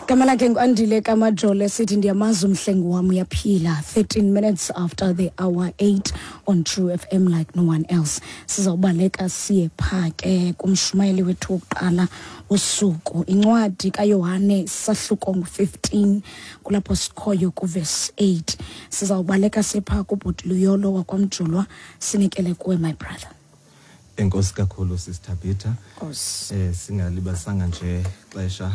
Gama lakhe nguAndile Kamajole, sithi ndiyamazi umhlengi wam uyaphila. 13 minutes after the hour 8 on True FM like no one else. Sizawubaleka siye phaa ke kumshumayeli wethu wokuqala usuku. Incwadi kaYohane sahluko ngu-15, kulapho sikhoyo kuvesi 8. Sizawubaleka siye phaa kubhuti Luyolo wakwaMjulwa, sinikele kuwe, my brother. Enkosi kakhulu, Sister Peter. Nkosi. Singalibasanga nje xesha,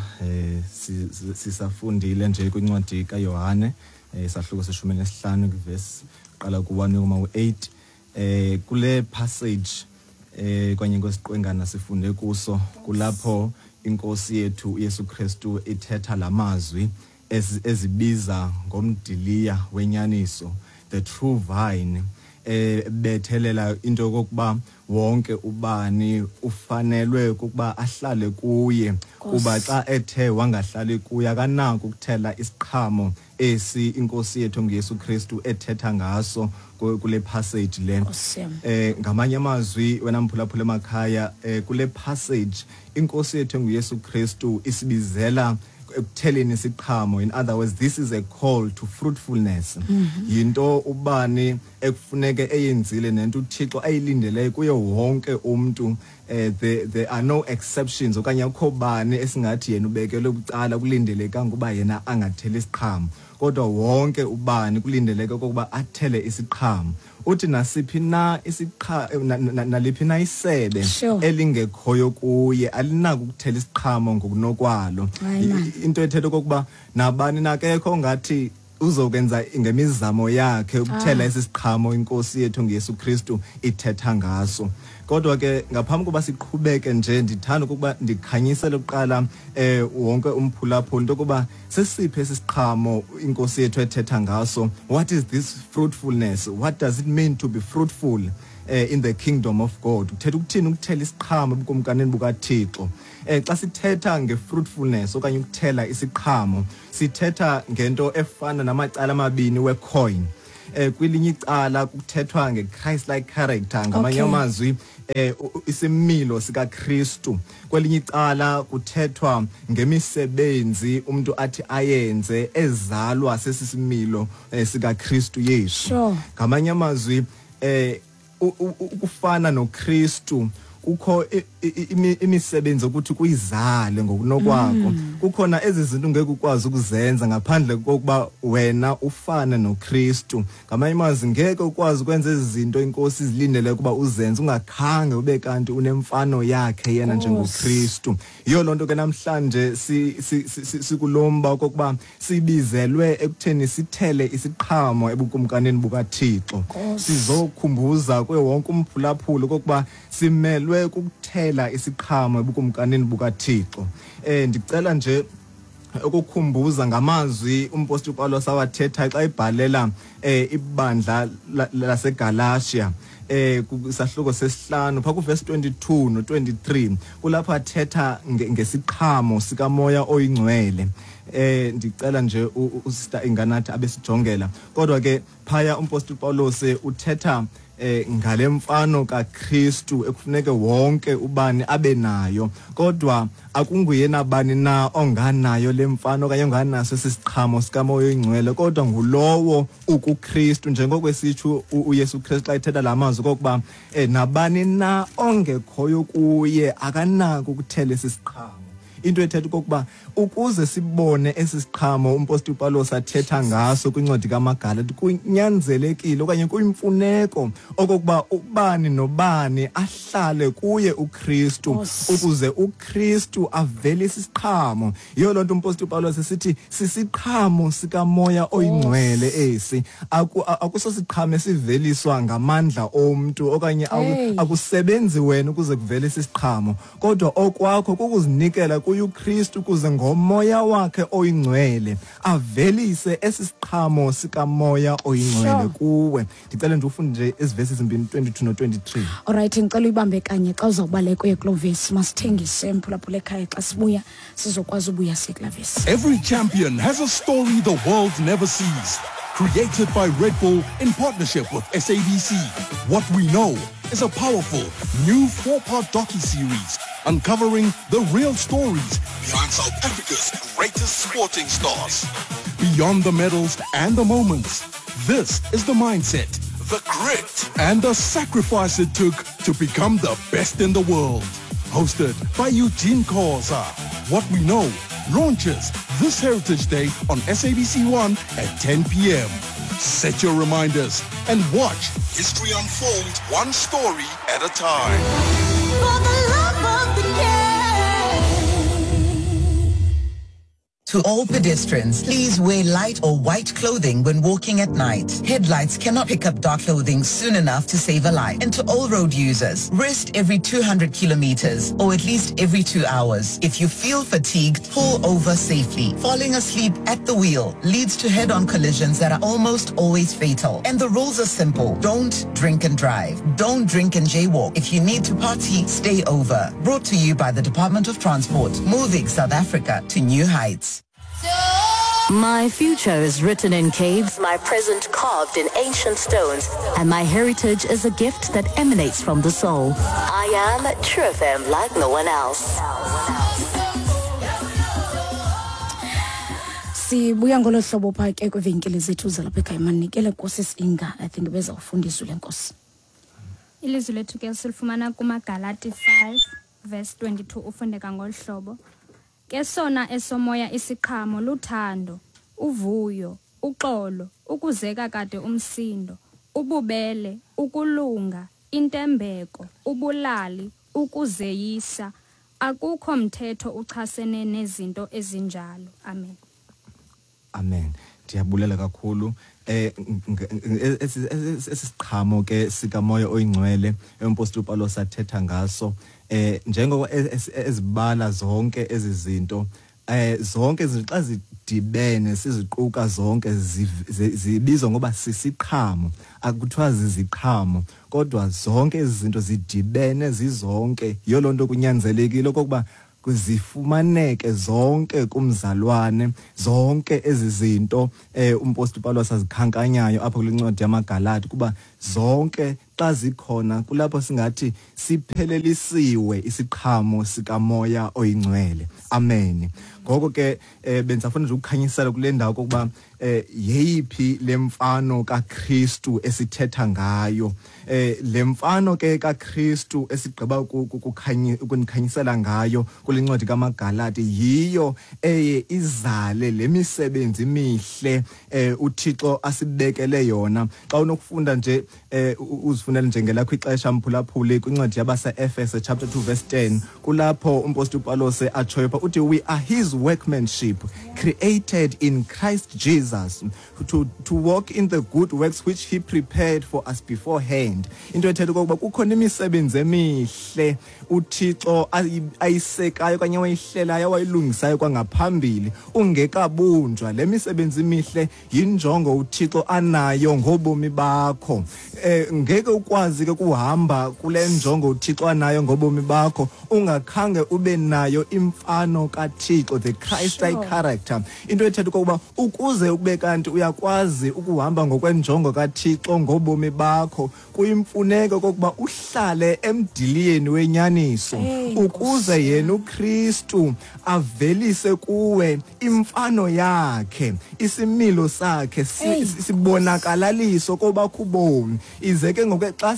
sisafundile nje kwincwadi kaYohane, isahluko se-15, kwivesi qala ku-1 kuma ku-8. Kule passage kanye kwesiqwengana sifunde kuso, kulapho inkosi yethu uYesu Kristu ithetha lamazwi ezibiza ngomdiliya wenyaniso, the true vine, bethelela into yokokuba wonke ubani ufanelwe kukuba ahlale kuye, kuba xa ethe wangahlali kuye akanako ukuthela isiqhamo esi inkosi yethu nguYesu Kristu ethetha ngaso kule passage le. Nkosi yam. Ngamanye amazwi, wena mphulaphula emakhaya, kule passage inkosi yethu nguYesu Kristu isibizela ekutheleni isiqhamo. In other words, this is a call to fruitfulness. Yinto ubani ekufuneke eyenzile nento uThixo ayilindeleyo kuye wonke umntu. There are no exceptions, okanye akukho bani esingathi yena ubekelwe bucala, kulindelekanga ukuba yena angatheli isiqhamo, kodwa wonke ubani kulindeleke okokuba athele isiqhamo. Uthi nasiphi na isiqha naliphi na isebe elingekhoyo kuye alinako ukuthela isiqhamo ngokunokwalo. Hayi, man. Into ethetha okokuba nabani nakekho ongathi uzokwenza ngemizamo yakhe ukuthela esi siqhamo inkosi yethu ngeYesu Kristu ithetha ngaso. Kodwa ke ngaphambi kokuba siqhubeke nje, ndithanda ukuba ndikhanyisele kuqala wonke umphulaphuli into yokuba sesiphi esi siqhamo inkosi yethu ethetha ngaso. What is this fruitfulness? What does it mean to be fruitful in the kingdom of God? Kuthetha ukuthini ukuthela isiqhamo ebukumkanini bukaThixo? Xa sithetha nge-fruitfulness okanye ukuthela isiqhamo, sithetha ngento efana namacala amabini we-coin. Kwelinye icala kuthethwa nge-Christ-like character, ngamanye amazwi, isimilo sikaKristu. Kwelinye icala kuthethwa ngemisebenzi umuntu athi ayenze ezalwa sesisimilo sikaKristu Yesu. Ngamanye amazwi, ukufana noKristu kukho imisebenzi ukuthi kuyizale ngokunokwakho. Kukhona ezi zinto ngeke ukwazi ukuzenza ngaphandle kokuba wena ufane noKristu. Ngamanye amazwi, ngeke ukwazi ukwenza ezi zinto inkosi izilindele ukuba uzenze ungakhange ube kanti unemfano yakhe yena njengoKristu. Yiyo loo nto ke namhlanje sikulomba okokuba sibizelwe ekutheni sithele isiqhamo ebukumkanini bukaThixo. Sizokhumbuza kuye wonke umphulaphuli okokuba simelwe kukuthela isiqhamo ebukumkanini bukaThixo. Ndicela nje ukukhumbuza ngamazwi umpostoli uPawulos awathetha xa ebhalela ibandla laseGalatia, kusahluko sesihlanu pha kuverse 22 no 23, kulapho athetha ngesiqhamo sikaMoya oyiNgcwele. Ndicela nje uSister Inganathi abesijongela. Kodwa ke phaya umpostoli Pawulos uthetha ngale mfano kaKristu ekufuneke wonke ubani abe nayo, kodwa akunguyena bani na onganayo le mfano okanye onganaso esisiqhamo sikaMoya oyiNgcwele, kodwa ngulowo ukuKristu, njengoko esitsho uYesu Kristu xa ethetha la mazwi okokuba nabani na ongekhoyo kuye akanako ukuthela esi siqhamo. Into ethetha okokuba ukuze sibone esi siqhamo umpostoli uPawulos athetha ngaso kwincwadi kaMagalati, kunyanzelekile okanye kuyimfuneko okokuba ubani nobani ahlale kuye uKristu, ukuze uKristu avelise isiqhamo. Yiyo loo nto umpostoli uPawulos esithi sisiqhamo sikaMoya oyiNgcwele esi. Akusosiqhamo esiveliswa ngamandla omntu okanye akusebenzi wena ukuze kuvelise isiqhamo, kodwa okwakho kukuzinikela kuye uKristu ukuze ngoMoya wakhe oyiNgcwele avelise esi siqhamo sikaMoya oyiNgcwele kuwe. Ndicela nje ufunde nje ezi vesi zimbini, 22 no 23. Alright, ngicela uyibambe kanye xa uzawubaleka uye kuloo vesi. Masithengise mphulaphula ekhaya, xa sibuya sizokwazi ubuya siye kulaa vesi. Every champion has a story the world never sees. Created by Red Bull in partnership with SABC. What We Know is a powerful new 4-part docu-series uncovering the real stories behind South Africa's greatest sporting stars. Beyond the medals and the moments, this is the mindset, the grit, and the sacrifice it took to become the best in the world. Hosted by Eugene Khoza. What We Know launches this Heritage Day on SABC1 at 10 p.m. Set your reminders and watch history unfold one story at a time. For the love of the game. To all pedestrians, please wear light or white clothing when walking at night. Headlights cannot pick up dark clothing soon enough to save a life. And to all road users, rest every 200 kilometers or at least every 2 hours. If you feel fatigued, pull over safely. Falling asleep at the wheel leads to head-on collisions that are almost always fatal. And the rules are simple. Don't drink and drive. Don't drink and jaywalk. If you need to party, stay over. Brought to you by the Department of Transport, moving South Africa to new heights. My future is written in caves, my present carved in ancient stones, and my heritage is a gift that emanates from the soul. I am True FM like no one else. Sibuya ngolo hlobo pha ke kwivenkile zethu zalapha ekhaya. Manikele Nkosi Inga, I think bezawufunda izwi lenkosi. Ilizwi lethu ke silifumana kumaGalati 5 verse 22, ufundeka ngolu hlobo. Ke sona esomoya isiqhamo luthando, uvuyo, uxolo, ukuzeka kade umsindo, ububele, ukulunga, intembeko, ubulali, ukuzeyisa. Akukho mthetho uchasene nezinto ezinjalo. Amen. Amen. Ndiyabulela kakhulu. Esi siqhamo ke sikamoya oyingcwele umpostoli uPawulos athetha ngaso, njengoba ezibala zonke ezi zinto, zonke izinto xa zidibene siziquka zonke zibizwa ngoba sisiqhamo. Akuthiwa ziziqhamo, kodwa zonke ezi zinto zidibene zizonke. Yiyo loo nto kunyanzelekile okokuba zifumaneke zonke kumzalwane, zonke ezi zinto umpostoli Pawulos azikhankanyayo apho kule ncwadi yamaGalati, kuba zonke xa zikhona kulapho singathi siphelelisiwe isiqhamo sikamoya oyingcwele. Amen. Ngoko ke bendisafuna nje ukukhanyisela kule ndawo kokuba yeyiphi le mfano kaKristu esithetha ngayo. Le mfano ke kaKristu esigqiba ukunikhanyisela ngayo kule ncwadi kaMagalati yiyo eye izale le misebenzi mihle uThixo asibekele yona. Xa unokufunda nje, uzifunele nje ngelakho ixesha, mphulaphuli, kwincwadi yabase-Efese chapter 2 verse 10, kulapho umpostoli uPawulos atshoyo pha, uthi, "We are his workmanship, created in Christ Jesus to walk in the good works which he prepared for us beforehand." Into ethetha okokuba kukhona imisebenzi emihle uThixo ayisekayo okanye wayihlelayo, wayilungisayo kwangaphambili ungekabunjwa. Le misebenzi imihle yinjongo uThixo anayo ngobomi bakho. Ngeke ukwazi ke kuhamba kule njongo uThixo anayo ngobomi bakho ungakhange ube nayo imfano kaThixo, the Christ-like character. Into ethetha okokuba ukuze ube kanti uyakwazi ukuhamba ngokwenjongo kaThixo ngobomi bakho, kuyimfuneko okokuba uhlale emdiliyeni wenyaniso, Hey, ukuze yena uKristu avelise kuwe imfano yakhe, isimilo sakhe Hey, sibonakalaliso kobakho ubomi. Ize ke ngoku xa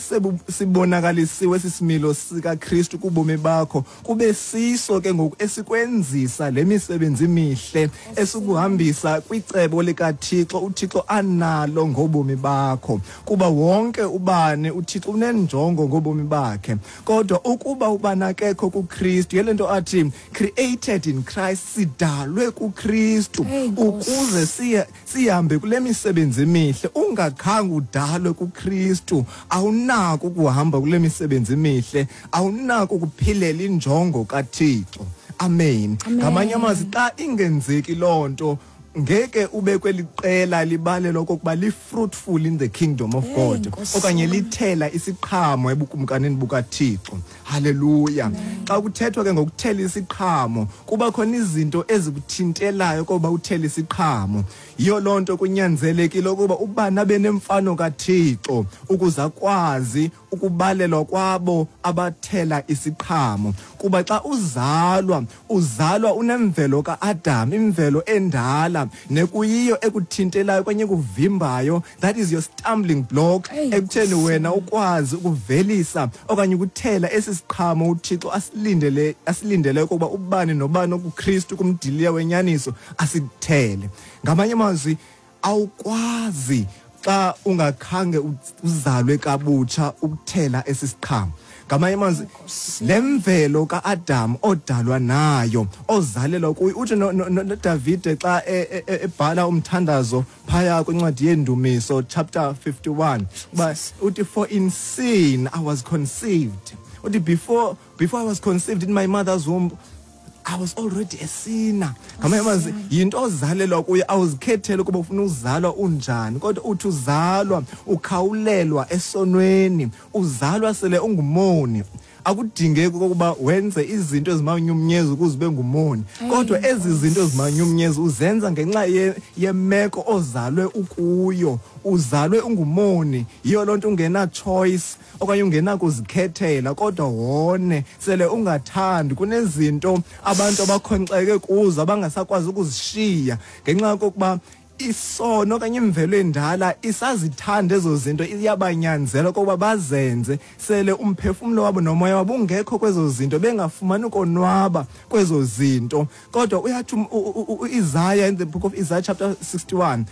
sibonakalisiwe esi similo sikaKristu kubomi bakho, kube siso ke ngoku esikwenzisa le misebenzi mihle esikuhambisa kwicebo likaThixo uThixo analo ngobomi bakho. Kuba wonke ubani uThixo unenjongo ngobomi bakhe, kodwa ukuba ubani akekho kuKristu, yile nto athi created in Christ, sidalwe kuKristu Hey, Nkosi. ukuze sihambe kule misebenzi emihle. Ungakhange udalwe kuKristu, awunako ukuhamba kule misebenzi emihle, awunako ukuphilela injongo kaThixo. Amen. Amen. Ngamanye amazwi, xa ingenzeki loo nto, ngeke ube kweli qela libalelwa okokuba li-fruitful in the kingdom of Hey, God, Nkosi okanye yam. lithela isiqhamo ebukumkanini bukaThixo. Haleluya. Xa kuthethwa ke ngokuthela isiqhamo, kuba khona izinto ezikuthintelayo koba uthele isiqhamo. Yiyo loo nto kunyanzelekile ukuba ubani abe nemfano kaThixo ukuze akwazi ukubalelwa kwabo abathela isiqhamo. Kuba xa uzalwa, uzalwa unemvelo kaAdam, imvelo endala nekuyiyo ekuthintelayo okanye ekuvimbayo. That is your stumbling block ekutheni wena ukwazi ukuvelisa okanye ukuthela esi siqhamo uThixo asilindele ukuba ubani nobani okuKristu kumdiliya wenyaniso asithele. Ngamanye amazwi, awukwazi xa ungakhange uzalwe kabutsha ukuthela esi siqhamo. Ngamanye amazwi, le mvelo kaAdam odalwa nayo, ozalelwa kuyo, uthi noDavide xa ebhala umthandazo phaya kwincwadi yeNdumiso chapter 51, uba uthi, "For in sin I was conceived." Uthi, Before I was conceived in my mother's womb, I was already a sinner." Ngamanye amazwi, yinto ozalelwa kuyo, awuzikhetheli ukuba ufuna uzalwa unjani, kodwa uthi uzalwa ukhawulelwa esonweni, uzalwa sele ungumoni. Akudingeki okokuba wenze izinto ezimanyumnyezi ukuze ube ngumoni, kodwa ezi zinto ezimanyumnyezi uzenza ngenxa yemeko ozalwe ukuyo. Uzalwe ungumoni, yiyo loo nto ungena choice okanye ungenakuzikhethela, kodwa wone sele ungathandi. Kunezinto abantu abakhonkxeke kuzo abangasakwazi ukuzishiya ngenxa yokokuba isono okanye imvelo endala isazithanda ezo zinto, iyabanyanzela okokuba bazenze sele umphefumlo wabo nomoya wabo ungekho kwezo zinto, bengafumani ukonwaba kwezo zinto. Kodwa uyathi uIsaiah, in the book of Isaiah chapter 61,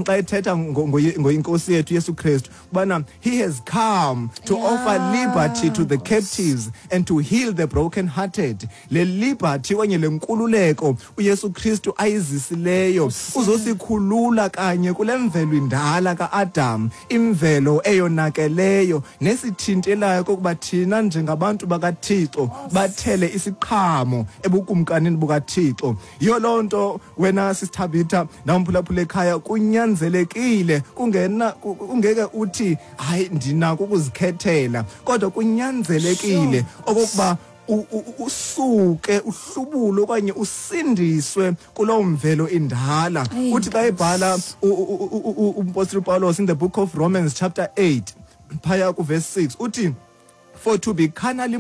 xa ethetha ngoyinkosi yethu Yesu Kristu, ubana he has come to offer liberty to the captives and to heal the broken hearted. Le liberty okanye le nkululeko uYesu Kristu ayizisileyo, uzosikhulula kanye kule mvelo indala kaAdam, imvelo eyonakeleyo nesithintelayo kokuba thina njengabantu bakaThixo bathele isiqhamo ebukumkanini bukaThixo. Yiyo loo nto wena sisithabitha namphulaphula ekhaya, kunyanzelekile, kungena ungeke uthi hayi ndinako ukuzikhethela, kodwa kunyanzelekile okokuba usuke uhlubule okanye usindiswe kuloo mvelo indala. Uthi xa ebhala umpostoli Paulos in the book of Romans chapter 8 phaya kuverse 6, uthi, "For to be carnally